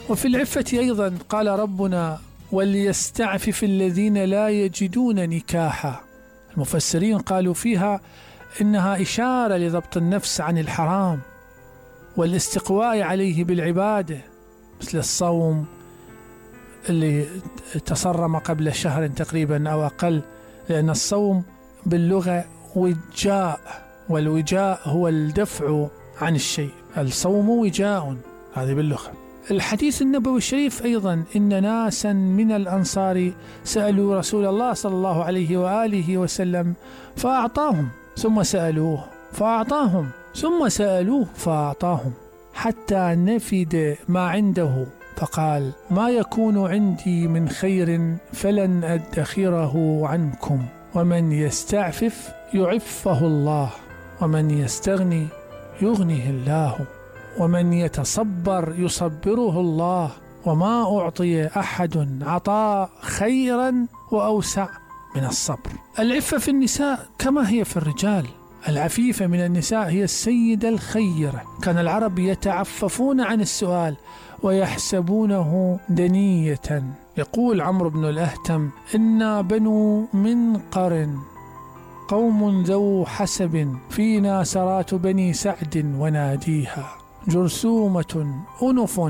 وفي العفة أيضا قال ربنا وليستعفف الذين لا يجدون نكاحا. المفسرين قالوا فيها إنها إشارة لضبط النفس عن الحرام والاستقواء عليه بالعبادة، مثل الصوم اللي تصرم قبل شهر تقريبا أو أقل، لأن الصوم باللغة وجاء، والوجاء هو الدفع عن الشيء، الصوم وجاء، هذه باللغة. الحديث النبوي الشريف أيضا إن ناسا من الأنصار سألوا رسول الله صلى الله عليه وآله وسلم فأعطاهم، ثم سألوه فأعطاهم، ثم سألوه فأعطاهم، حتى نفد ما عنده، فقال ما يكون عندي من خير فلن أدخره عنكم، ومن يستعفف يعفه الله، ومن يستغني يغنيه الله، ومن يتصبر يصبره الله، وما أعطي أحد عطاء خيرا وأوسع من الصبر. العفة في النساء كما هي في الرجال، العفيفة من النساء هي السيدة الخيرة. كان العرب يتعففون عن السؤال ويحسبونه دنية. يقول عمرو بن الأهتم إنا بنو منقر قوم ذو حسب، فينا سرات بني سعد وناديها، جرثومة أنف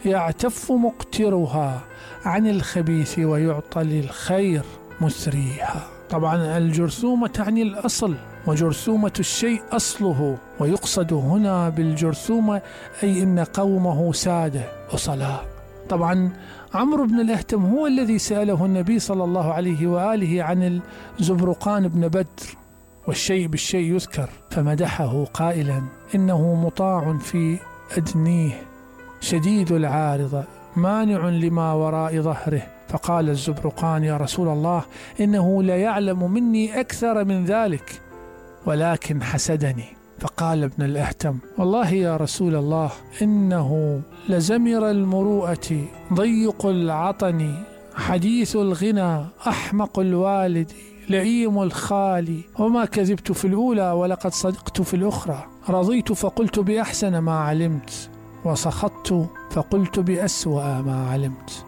يعتف مقترها، عن الخبيث ويعطى للخير مسريها. طبعا الجرثومة تعني الأصل، وجرثومة الشيء أصله، ويقصد هنا بالجرثومة أي إن قومه سادة أصلاء. طبعا عمرو بن الأهتم هو الذي سأله النبي صلى الله عليه وآله عن الزبرقان بن بدر، والشيء بالشيء يذكر، فمدحه قائلا إنه مطاع في أدنيه شديد العارضة مانع لما وراء ظهره. فقال الزبرقان يا رسول الله إنه لا يعلم مني أكثر من ذلك ولكن حسدني. فقال ابن الأهتم والله يا رسول الله إنه لزمر المروءة ضيق العطن حديث الغنى أحمق الوالد لئيم الخال، وما كذبت في الأولى ولقد صدقت في الأخرى، رضيت فقلت بأحسن ما علمت، وسخطت فقلت بأسوأ ما علمت.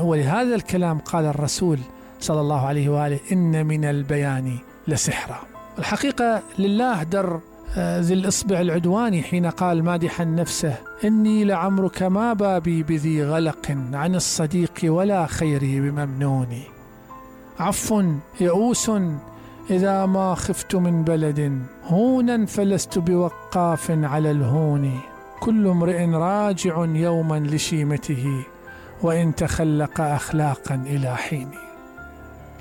ولهذا الكلام قال الرسول صلى الله عليه وآله إن من البيان لسحرا. الحقيقة لله در ذي الإصبع العدواني حين قال مادحا نفسه إني لعمرك ما بابي بذي غلق عن الصديق ولا خيري بممنوني، عف يئوس إذا ما خفت من بلد، هونا فلست بوقاف على الهون، كل امرئ راجع يوما لشيمته، وإن تخلق أخلاقا إلى حين.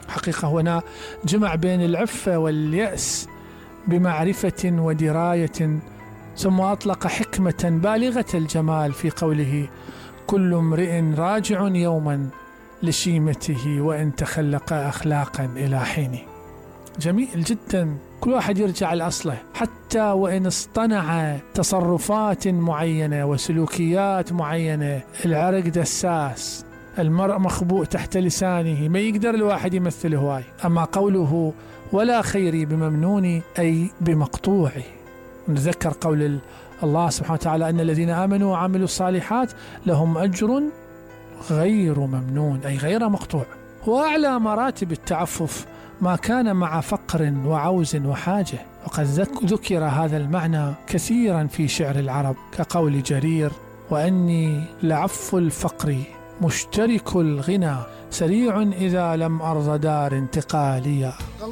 حقيقة هنا جمع بين العفة واليأس بمعرفة ودراية، ثم أطلق حكمة بالغة الجمال في قوله كل امرئ راجع يوما لشيمته وإن تخلق أخلاقا إلى حين. جميل جدا، كل واحد يرجع لأصله، حتى وإن اصطنع تصرفات معينة وسلوكيات معينة، العرق دساس، المرء مخبوء تحت لسانه، ما يقدر الواحد يمثل هواي. أما قوله ولا خيري بممنوني أي بمقطوعي. نذكر قول الله سبحانه وتعالى أن الذين آمنوا وعملوا الصالحات لهم أجر غير ممنون أي غير مقطوع. وأعلى مراتب التعفف ما كان مع فقر وعوز وحاجة، وقد ذكر هذا المعنى كثيرا في شعر العرب كقول جرير وأني لعف الفقر مشترك الغنى، سريع إذا لم أرض دار انتقاليا.